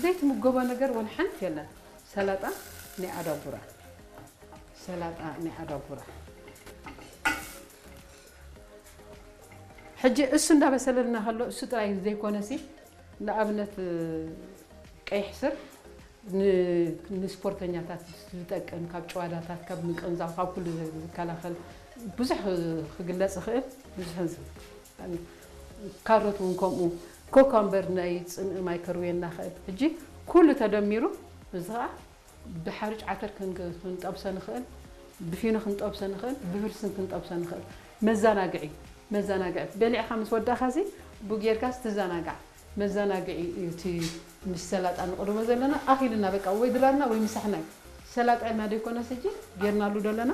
ዘይትምገቦ ነገር ወላ ሓንቲ የለን። ሰላጣ ናይ ኣዳጉራ፣ ሰላጣ ናይ ኣዳጉራ። ሕጂ እሱ እንዳበሰለልና ከሎ እሱ ጥራይ ዘይኮነሲ፣ ንኣብነት ቀይሕ ስር ን- ንስፖርተኛታት ዝጠቅም፣ ካብ ጭዋዳታት፣ ካብ ምቅንዛው፣ ካብ ኩሉ ዝከላኸል፣ ብዙሕ ክግለጽ ይኽእል። ብዙሕ፣ ካሮት እውን ከምኡ፣ ኮኮምበር ናይ ጽምኢ ማይ ከርውየና ይኽእል። ሕጂ ኩሉ ተደሚሩ እዚ ኸኣ ብሓርጭ ዓተር ክን- ክንጠብሶ ንኽእል፣ ብፊኖ ክንጠብሶ ንኽእል፣ ብብርስን ክንጠብሶ ንኽእል። መዘናግዒ፣ መዘናግዒ፣ በሊዕካ ምስ ወዳእካ ሲ ብኡ ጌርካ ትዘናጋዕ። መዘናግዒ እዩ እቲ ምስ ሰላጣ ንቕርቦ ዘለና። ኣኺልና በቃ፣ ወይ ድራርና ወይ ምሳሕና እዩ። ሰላጣ ኢልና ዶ ይኮነስ ሕጂ ጌርናሉ ዘለና?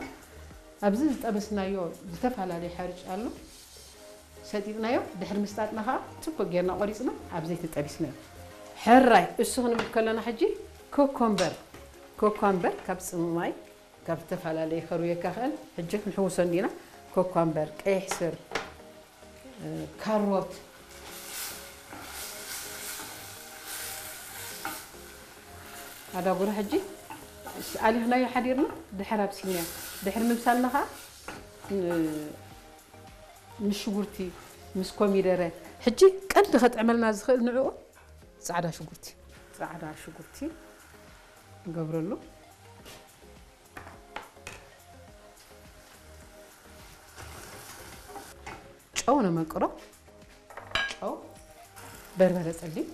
ኣብዚ ዝጠበስናዮ ዝተፈላለየ ሓርጭ ኣሎ። ሰጢጥናዮ፣ ድሕሪ ምስጣጥና ከዓ ጽቡቅ ጌርና ቆሪጽና ኣብ ዘይቲ ጠቢስናዮ። ሕራይ እሱ ክንብል ከለና ሕጂ ኮኮምበር፣ ኮኮምበር ካብ ጽምማይ፣ ካብ ዝተፈላለየ ከርውየካ ክእል። ሕጂ ክንሕውሶ እንዲና። ኮኮምበር፣ ቀይሕ ስር፣ ካሮት፣ ኣዳጉራ ሕጂ ኣሊኽናዮ ሓዲርና ድሕር ኣብሲልናዮ። ድሕሪ ምብሳልና ከዓ ን- ምስ ሽጉርቲ፣ ምስ ኮሚደረ። ሕጂ ቀንዲ ከጥዕመልና ዝኽእል ንዕኡ ጻዕዳ ሽጉርቲ። ጻዕዳ ሽጉርቲ ንገብረሉ። ጨው ነመቅሮ። ጨው፣ በርበረ ጸሊም።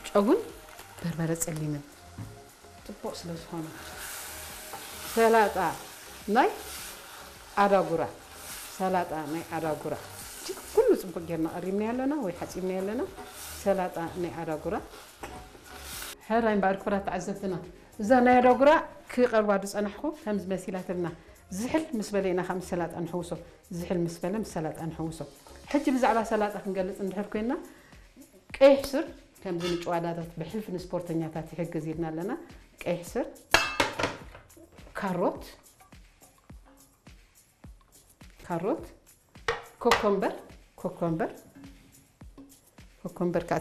ጨውን በርበረ ጸሊምን ጽቡቕ ስለ ዝኾነ። ሰላጣ ናይ ኣዳጉራ፣ ሰላጣ ናይ ኣዳጉራ። እጅግ ኩሉ ጽቡቕ ጌርና ቀሪብና ኣለና ወይ ሓጺብና ኣለና። ሰላጣ ናይ ኣዳጉራ። ሕራይ እምበኣር ክቡራት ተዓዘብትና፣ እዛ ናይ ኣዳጉራ ክቐርባ ዝጸናሕኩ ከምዚ መሲላትልና። ዝሕል ምስ በለ ኢና ካብ ሰላጣ ንሕውሶ። ዝሕል ምስ በለ ምስ ሰላጣ ንሕውሶ። ሕጂ ብዛዕባ ሰላጣ ክንገልጽ እንድሕር ኮይና፣ ቀይሕ ስር ከምዚ ንጭዋዳታት ብሕልፊ ንስፖርተኛታት ይሕግዝ ኢልና ኣለና። ቀይሕ ስር፣ ካሮት፣ ካሮት፣ ኮኮምበር፣ ኮኮምበር፣ ኮኮምበር ከዓ